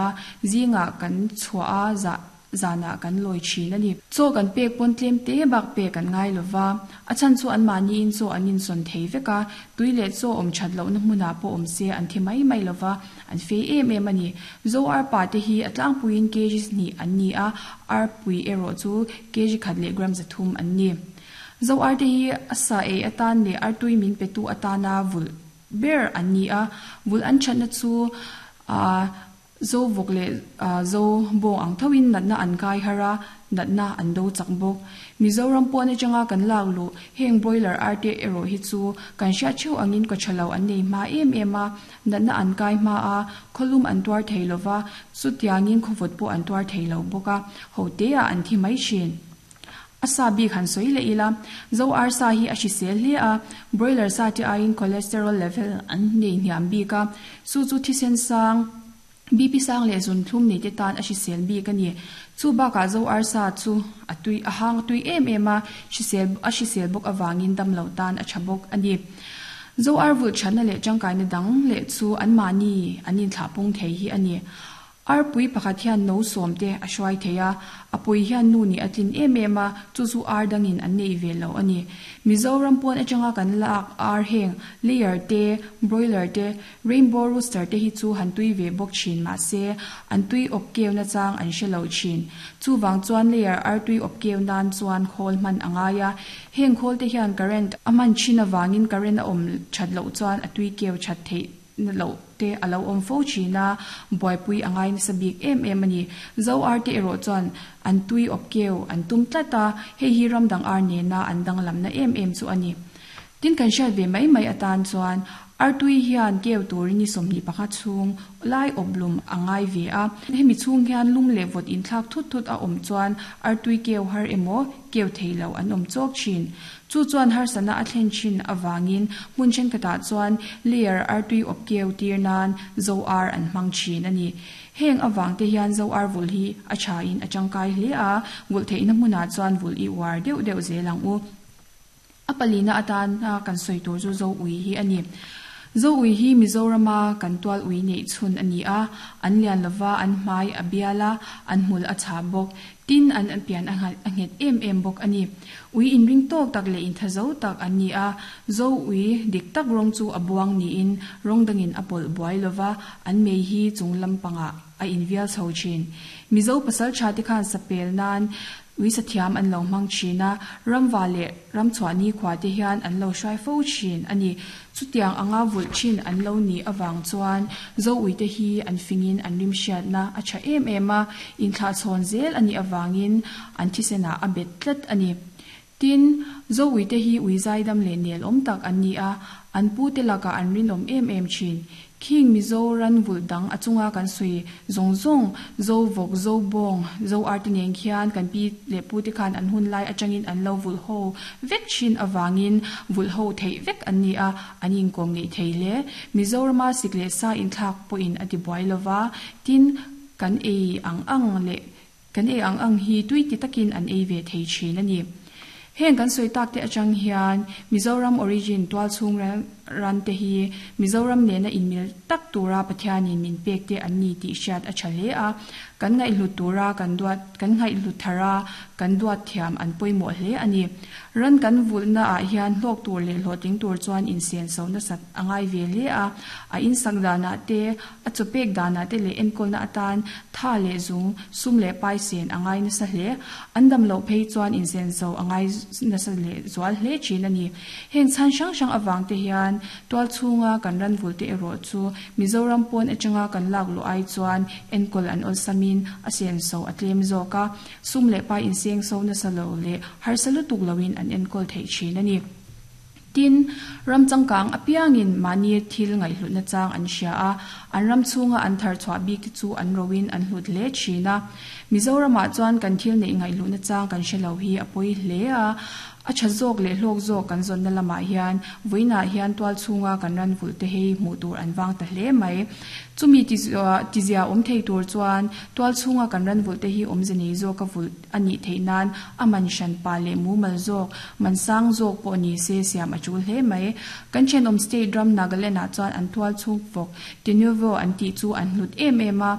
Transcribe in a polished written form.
a, zingah kan chhuah a, zah zanah kan lawi thin a ni. Chaw kan pek pawn tlem te bak pek an ngai lo va, a chhan chu anmahniin chaw an insawn thei vek a, tui leh chaw awm that lohna hmunah pawh awm se an thi mai mai lo va, an fei em em a ni. Zo arpa te hi a tlangpuiin kg hnih an ni a, arpui erawh chu kg khat leh gram 300 an ni. Zo arte hi a sa ei atan leh artui min petu atana vulh ber an ni a, vulh an thatna chu aa Zo vawk leh zo bawng ang thoin natna an kai har a, natna an do chak bawk. Mizoram pawn atanga kan lak luh heng broiler arte erawh hi chu kan hriat theuh angin kaw tha lo an nei hma em em a, natna an kai hma a, khawlum an tuar thei lo va, chutiangin khawvawt pawh an tuar thei lo bawk a, hoteah an thi mai thin. A sa bik han sawi leh ila, Zo arsa hi a hrisel hle a, broiler sa te aiin cholesterol level an nei hniam bik a, chu chu thisen sang, BP sang leh zunthlum nei te tan a hrisel bik a ni. Chu bakah Zo arsa chu a tui a hang tui em em a, hrisel a hrisel bawk avangin damlo tan a tha bawk a ni. Zo ar vulh thatna leh tangkaina dang leh chu anmahni an inthlahpung thei hi a ni. Arpui pakhat hian no sawm te a hruai thei a, a pui hian nu nih a tlin em em a, chu chu ar dangin an neih ve lo a ni. Mizoram pawn atanga kan lak ar heng layer te, broiler te, rainbow rooster te hi chu han tui ve bawk thin mahse an tui awp keu na chang an hre lo thin. Chuvang chuan layer ar tui awp keu nan chuan khawl hman a ngai a, heng khawl te hian current a hman thin avangin current a awm that loh chuan a tui keu that theih na loh te a lo awm fo thin a, buaipui a ngai nasa bik em em a ni. Zo ar te erawh chuan an tui awp keu an tum tlat a, hei hi ram dang ar nena an danglamna em em chu a ni. Tin kan hriat ve mai mai atan chuan artui hian keu turin ni 25 chhung lai awp lum a ngai ve a, hemi chhung hian lum leh vawt inthlak thut thut a awm chuan artui keu har emaw keu thei lo an awm chawk thin. Chu chuan harsatna a thlen thin avangin hmun thenkhatah chuan layer artui awp keu tir nan zo ar an hmang thin a ni. Heng avang te hian zo ar vulh hi a thain a tangkai hle a, vulh theihna hmunah chuan vulh i uar deuh deuh zel ang u. A palina atana kan sawi tur chu zo ui hi a ni. Zo ui hi Mizorama kan tual ui neih chhun a ni a, an lian lova, an hmai a bial a, an hmul a chhah bawk. Tin, an pian a nghet em em bawk a ni. Ui inring tawk tak leh intha zo tak an ni a, Zo ui dik tak rawng chu a buang niin rawng dangin a pawlh buai lova, an mei hi chung lampangah a invial chho thin. Mizo pasaltha te khan sapel nan ui sathiam an lo hmang thin a, ramva leh ramchhuah nikhua te hian an lo hruai fo thin a ni. Chutiang anga vulh thin an lo nih avang chuan Zo uite hi an fingin an rimhriatna a tha em em a, inthlahchhawn zel a nih avangin an thisenah a bet tlat a ni. Tin, Zo uite hi ui zaidam leh nel awm tak an ni a, an pute lakah an rinawm em em thin. Khing Mizo ran vulh dang a chunga kan sawi zawng zawng, Zo vawk, Zo bawng, Zo arte nen khian kan pi leh pute khan an hun lai atangin an lo vulh ho vek thin avangin vulh ho theih vek an ni a, an inkawm ngeih thei hle. Mizorama sik leh sa inthlak pawhin a ti buai lova, tin, kan ei ang ang leh kan ei ang ang hi tui ti takin an ei ve thei thin a ni. Heng kan sawi tak te atang hian Mizoram origin tualchhung ran te hi Mizoram nena inmil tak tura Pathianin min pek te an ni tih hriat a tha hle a, kan ngaihhlut tura kan duat kan ngaihhlut thar a, kan duat thiam an pawimawh hle a ni. Ran kan vulhna ah hian hlawk tur leh hlawhtling tur chuan insen so nasat a ngai ve hle a, a insak danah te, A chawpek danah te leh enkawlna atan tha leh zung, sum leh pai sen a ngai nasa hle. An dam loh phei chuan insen zo a ngai nasa leh zual hle thin a ni. Heng chhan hrang hrang avang te hian tual chhunga kan ran vul te erawh chu Mizoram pawn atanga kan lak luh ai chuan enkawl an awlsamin a sen so a tlem zawk a, sum leh pai inseng so nasa lo leh harsa lutuk loin an enkawl theih thin a ni. Tin, ram changkang apiangin mahni thil ngaihhlutna chang an hria a, an ram chhunga an thar chhuah bik te chu an roin an hlut hle thin a. Mizoramah chuan kan thil neih ngaihhlutna chang kan hre lo hi a pawi hle a, a tha zawk leh hlawk zawk kan zawnna lamah hian vawiinah hian tual chhunga kan ran vulh te hei hmuh tur an vang ta hle mai. Chumi tizia awm thei tur chuan tual chhunga kan ran vulh te hi awmze nei zawka vulh a nih theih nan a man hran pa leh mumal zawk, man sang zawk pawh ni se siam a tul hle mai. Kan thenawm state ram Nagaland ah chuan an tual chhung vawk Tenuvo an tih chu an hlut em em a.